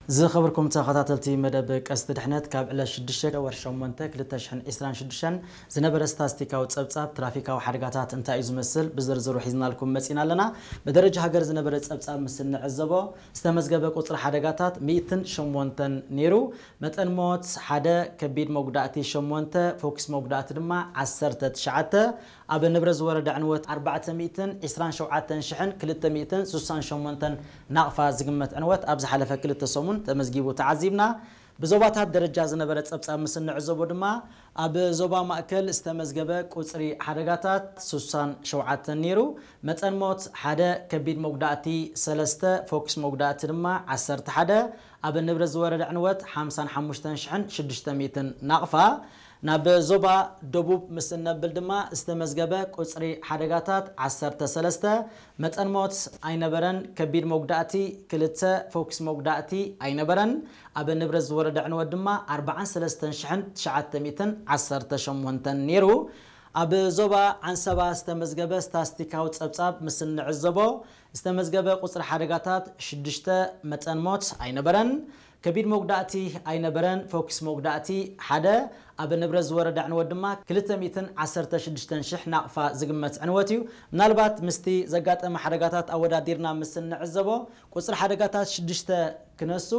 ዝኸበርኩም ተኸታተልቲ መደብ ቀስቲ ድሕነት፣ ካብ ዕለት ሽዱሽተ ወርሒ ሸሞንተ ክልተ ሽሕን ዕስራን ሽዱሽተን ዝነበረ ስታስቲካዊ ጸብጻብ ትራፊካዊ ሓደጋታት እንታይ እዩ ዝመስል ብዝርዝሩ ሒዝናልኩም መጺና ኣለና። ብደረጃ ሃገር ዝነበረ ጸብጻብ ምስ እንዕዘቦ ዝተመዝገበ ቁጽሪ ሓደጋታት ሚእትን ሸሞንተን ነይሩ። መጠን ሞት ሓደ፣ ከቢድ መጉዳእቲ ሸሞንተ፣ ፎኪስ መጉዳእቲ ድማ ዓሰርተ ትሽዓተ፣ ኣብ ንብረት ዝወረደ ዕንወት ኣርባዕተ ሚእትን ዕስራን ሸውዓተን ሽሕን ክልተ ሚእትን ስሳን ሸሞንተን ናቕፋ ዝግመት ዕንወት ኣብ ዝሓለፈ ክልተ ሰሙን ተመዝጊቡ ተዓዚብና። ብዞባታት ደረጃ ዝነበረ ጸብጻብ ምስ እንዕዘቦ ድማ ኣብ ዞባ ማእከል ዝተመዝገበ ቁጽሪ ሓደጋታት ስሳን ሸውዓተን ነይሩ። መጠን ሞት ሓደ፣ ከቢድ መጉዳእቲ ሰለስተ፣ ፎኪስ መጉዳእቲ ድማ ዓሰርተ ሓደ፣ ኣብ ንብረት ዝወረደ ዕንወት ሓምሳን ሓሙሽተን ሽሕን ሽዱሽተ ሚእትን ናቕፋ። ናብ ዞባ ደቡብ ምስ እነብል ድማ ዝተመዝገበ ቁጽሪ ሓደጋታት ዓሰርተ ሰለስተ፣ መጠን ሞት ኣይነበረን። ከቢድ መጉዳእቲ ክልተ፣ ፎኪስ መጉዳእቲ ኣይነበረን። ኣብ ንብረት ዝወረደ ዕንወት ድማ ኣርባዓን ሰለስተን ሽሕን ትሽዓተ ሚእትን ዓሰርተ ሸሞንተን ነይሩ። ኣብ ዞባ ዓንሰባ ዝተመዝገበ ስታስቲካዊ ጸብጻብ ምስ እንዕዘቦ ዝተመዝገበ ቁጽሪ ሓደጋታት ሽዱሽተ፣ መጠን ሞት ኣይነበረን። ከቢድ መጉዳእቲ ኣይነበረን። ፎኪስ መጉዳእቲ ሓደ፣ ኣብ ንብረት ዝወረደ ዕንወት ድማ ክልተ ሚእትን ዓሰርተ ሽዱሽተን ሽሕ ናቕፋ ዝግመት ዕንወት እዩ። ምናልባት ምስቲ ዘጋጠመ ሓደጋታት ኣወዳዲርና ምስ እንዕዘቦ ቁጽሪ ሓደጋታት ሽዱሽተ ክነሱ፣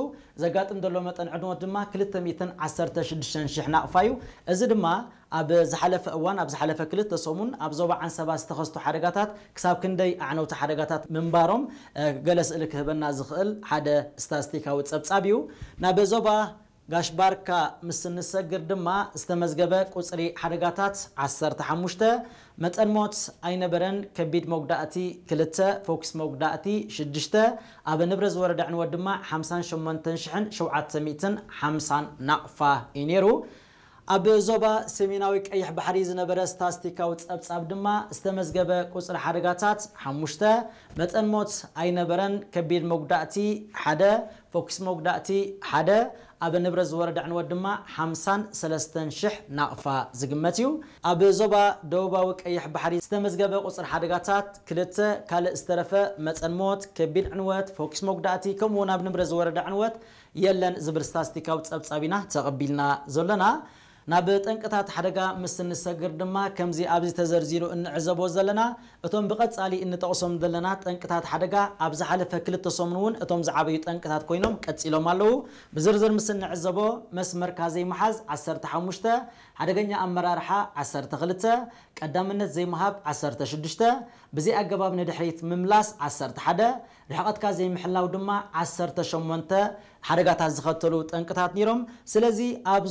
ዘጋጥም ዘሎ መጠን ዕንወት ድማ ክልተ ሚእትን ዓሰርተ ሽዱሽተን ሽሕ ናቕፋ እዩ። እዚ ድማ ኣብ ዝሓለፈ እዋን፣ ኣብ ዝሓለፈ ክልተ ሰሙን ኣብ ዞባ ዓንሰባ ዝተኸስቱ ሓደጋታት ክሳብ ክንደይ ኣዕነውቲ ሓደጋታት ምንባሮም፣ እ፣ ገለ ስእሊ ክህበና ዝኽእል ሓደ ስታስቲካዊ ጸብጻብ እዩ። ናብ ዞባ ጋሽ ባርካ ምስ እንሰግር ድማ ዝተመዝገበ ቁጽሪ ሓደጋታት ዓሰርተ ሓሙሽተ፣ መጠን ሞት ኣይነበረን። ከቢድ መጉዳእቲ ክልተ፣ ፎኪስ መጉዳእቲ ሽዱሽተ፣ ኣብ ንብረት ዝወረደ ዕንወት ድማ ሓምሳን ሸሞንተን ሽሕን ሸውዓተ ሚእትን ሓምሳን ናቕፋ እዩ ነይሩ። ኣብ ዞባ ሰሜናዊ ቀይሕ ባሕሪ ዝነበረ ስታስቲካዊ ጸብጻብ ድማ ዝተመዝገበ ቁጽሪ ሓደጋታት ሓሙሽተ፣ መጠን ሞት ኣይነበረን። ከቢድ መጉዳእቲ ሓደ፣ ፎኪስ መጉዳእቲ ሓደ፣ ኣብ ንብረት ዝወረደ ዕንወት ድማ ሓምሳን ሰለስተን ሽሕ ናቕፋ ዝግመት እዩ። ኣብ ዞባ ደቡባዊ ቀይሕ ባሕሪ ዝተመዝገበ ቁጽሪ ሓደጋታት ክልተ፣ ካልእ ዝተረፈ መጠን ሞት፣ ከቢድ ዕንወት፣ ፎኪስ መጉዳእቲ ከምኡ እውን ኣብ ንብረት ዝወረደ ዕንወት የለን ዝብል ስታስቲካዊ ጸብጻብ ኢና ተቐቢልና ዘለና። ናብ ጠንቅታት ሓደጋ ምስ እንሰግር ድማ ከምዚ ኣብዚ ተዘርዚሩ እንዕዘቦ ዘለና እቶም ብቐጻሊ እንጠቕሶም ዘለና ጠንቅታት ሓደጋ ኣብ ዝሓለፈ ክልተ ሰሙን እውን እቶም ዝዓበዩ ጠንቅታት ኮይኖም ቀጺሎም ኣለዉ። ብዝርዝር ምስ እንዕዘቦ መስመርካ ዘይምሓዝ ዓሰርተ ሓሙሽተ፣ ሓደገኛ ኣመራርሓ ዓሰርተ ክልተ፣ ቀዳምነት ዘይምሃብ ዓሰርተ ሽዱሽተ፣ ብዘይ ኣገባብ ንድሕሪት ምምላስ ዓሰርተ ሓደ፣ ርሕቐትካ ዘይምሕላው ድማ ዓሰርተ ሸሞንተ ሓደጋታት ዝኸተሉ ጠንቅታት ነይሮም። ስለዚ ኣብ